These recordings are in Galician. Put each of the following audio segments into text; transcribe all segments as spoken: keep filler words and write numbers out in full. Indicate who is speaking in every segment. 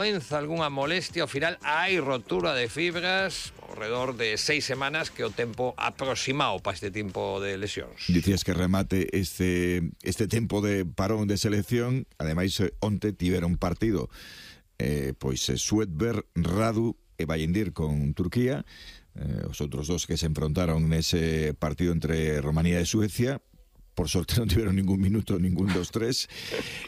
Speaker 1: Comienza algunha molestia, ao final hai rotura de fibras ao redor de seis semanas, que é o tempo aproximado para este tipo de lesións.
Speaker 2: Dicías que remate este este tempo de parón de selección. Ademais, onte tiveron partido eh, pois Suedberg, Radu e Bayindir con Turquía, eh, os outros dos que se enfrontaron nese partido entre Romanía e Suecia. Por sorte non tiveron ningún minuto ningún dos tres.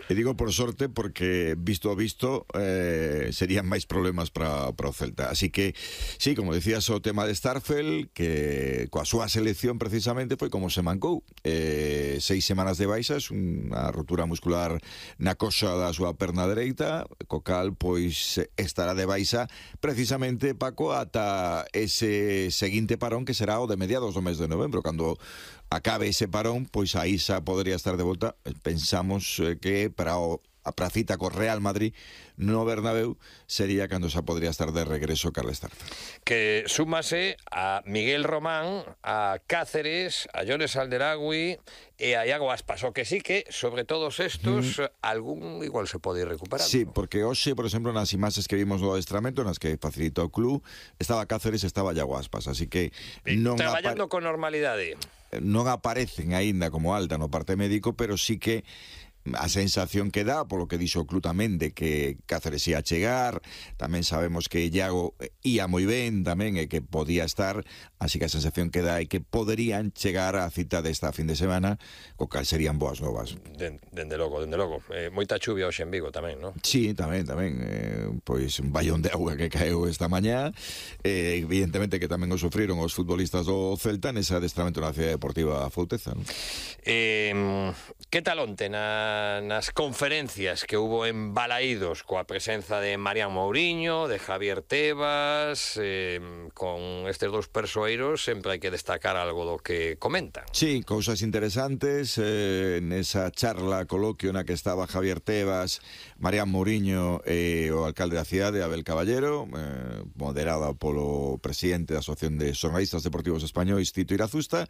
Speaker 2: E digo por sorte porque visto a visto eh, serían máis problemas para o Celta. Así que, sí, como decías, o tema de Starfel, que coa súa selección precisamente foi como se mancou. Eh, seis semanas de baixas, unha rotura muscular na coxa da súa perna dereita, co cal pois estará de baixa precisamente, Paco, ata ese seguinte parón que será o de mediados do mes de novembro, cando acabe ese parón, pois aí xa podría estar de volta. Pensamos eh, que para o, a pracita co Real Madrid no Bernabéu sería cando xa podría estar de regreso Carles Starfel.
Speaker 1: Que súmase a Miguel Román, a Cáceres, a Jones Alderagui e a Iago Aspas, o que sí que, sobre todos estos, mm. algún igual se pode ir recuperando.
Speaker 2: Sí, porque hoxe, por exemplo, nas imaxes que vimos no adestramento, nas que facilita o club, estaba Cáceres, estaba Iago Aspas, así que non
Speaker 1: traballando con normalidade.
Speaker 2: Non aparecen aínda como alta no parte médico, pero sí que a sensación que dá, polo que dixo o club tamén, de que Cáceres ia chegar. Tamén sabemos que Iago ia moi ben tamén e que podía estar, así que a sensación que dá é que poderían chegar á cita desta fin de semana, co cal serían boas novas.
Speaker 1: Dende de logo, dende logo. Eh, moita chuvia hoxe en Vigo tamén, non?
Speaker 2: Sí, tamén, tamén. Eh, pois un ballón de auga que caeu esta mañá. Eh, evidentemente que tamén o sufriron os futbolistas do Celta nese adestramento na Cidade Deportiva Fouteza, non?
Speaker 1: Eh, que tal onte na nas conferencias que hubo en Balaídos coa presenza de Marián Mouriño, de Javier Tebas, eh, con estes dous persoeiros sempre hai que destacar algo do que comentan.
Speaker 2: Sí, cousas interesantes eh, nesa charla, coloquio na que estaba Javier Tebas, Marián Mouriño e o alcalde da cidade, Abel Caballero, eh, moderada polo presidente da Asociación de Xornalistas Deportivos Españois, Tito Irazusta.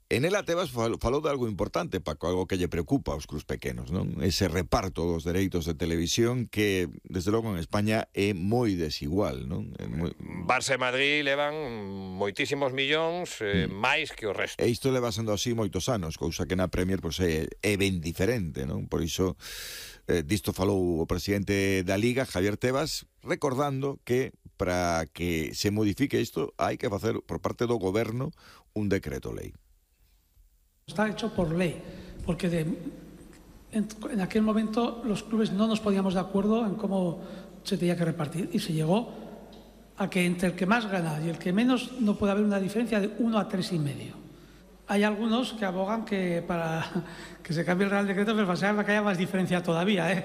Speaker 2: En ela Tebas falou de algo importante, Paco, algo que lle preocupa aos clubs pequenos, non? Ese reparto dos dereitos de televisión que, desde logo, en España é moi desigual, non? É moi...
Speaker 1: Barça e Madrid levan moitísimos millóns, eh, mm. máis que o resto.
Speaker 2: E isto leva sendo así moitos anos, cousa que na Premier pois, é, é ben diferente, non? Por iso, eh, disto falou o presidente da Liga, Javier Tebas, recordando que para que se modifique isto hai que facer por parte do goberno un decreto lei.
Speaker 3: Está hecho por ley, porque de, en, en aquel momento los clubes no nos poníamos de acuerdo en cómo se tenía que repartir y se llegó a que entre el que más gana y el que menos no puede haber una diferencia de uno a tres y medio. Hay algunos que abogan que para que se cambie el Real Decreto, pero para que haya más diferencia todavía, ¿eh?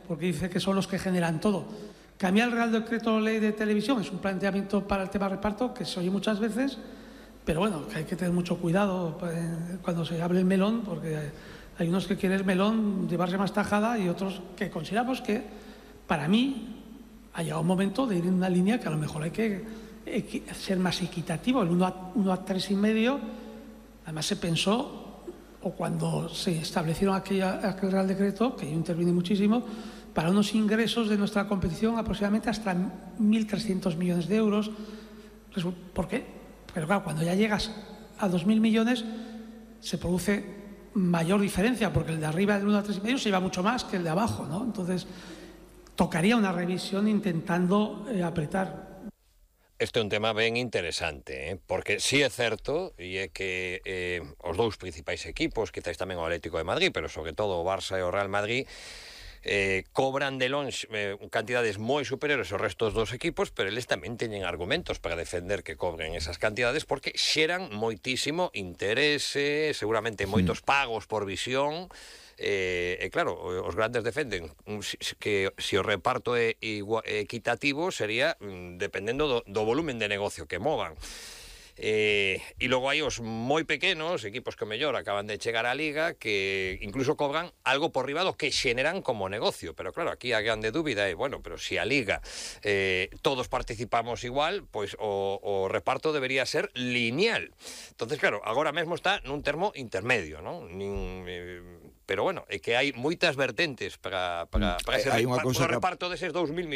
Speaker 3: Porque dice que son los que generan todo. Cambiar el Real Decreto Ley de Televisión es un planteamiento para el tema reparto que se oye muchas veces. Pero bueno, que hay que tener mucho cuidado cuando se hable el melón, porque hay unos que quieren el melón llevarse más tajada y otros que consideramos que, para mí, ha llegado un momento de ir en una línea que a lo mejor hay que ser más equitativo. El uno a tres y medio, además se pensó, o cuando se establecieron aquella, aquel Real Decreto, que yo intervine muchísimo, para unos ingresos de nuestra competición aproximadamente hasta mil trescientos millones de euros. ¿Por qué? Pero claro, cuando ya llegas a dos mil millones se produce mayor diferencia, porque el de arriba del uno a tres y medio se lleva mucho más que el de abajo, ¿no? Entonces, tocaría una revisión intentando eh, apretar.
Speaker 1: Este é un tema ben interesante, eh? Porque si é certo, e é que eh, os dous principais equipos, quizáis tamén o Atlético de Madrid, pero sobre todo o Barça e o Real Madrid, Eh, cobran de longe eh, cantidades moi superiores aos restos dos equipos, pero eles tamén teñen argumentos para defender que cobren esas cantidades, porque xeran moitísimo interese, seguramente moitos pagos por visión. Eh, e claro, os grandes defenden que se o reparto é igual, equitativo sería dependendo do, do volumen de negocio que movan. Eh, e logo hai os moi pequenos equipos que mellor acaban de chegar á Liga, que incluso cobran algo por riba do que xeneran como negocio. Pero claro, aquí a grande dúbida é, bueno, pero se si a Liga eh, todos participamos igual, pois o, o reparto debería ser lineal. Entonces claro, agora mesmo está nun termo intermedio, non? Nin, eh, pero bueno, é que hai moitas vertentes para, para, para ese
Speaker 2: hai unha
Speaker 1: para,
Speaker 2: cousa
Speaker 1: para o reparto deses dous mil millóns.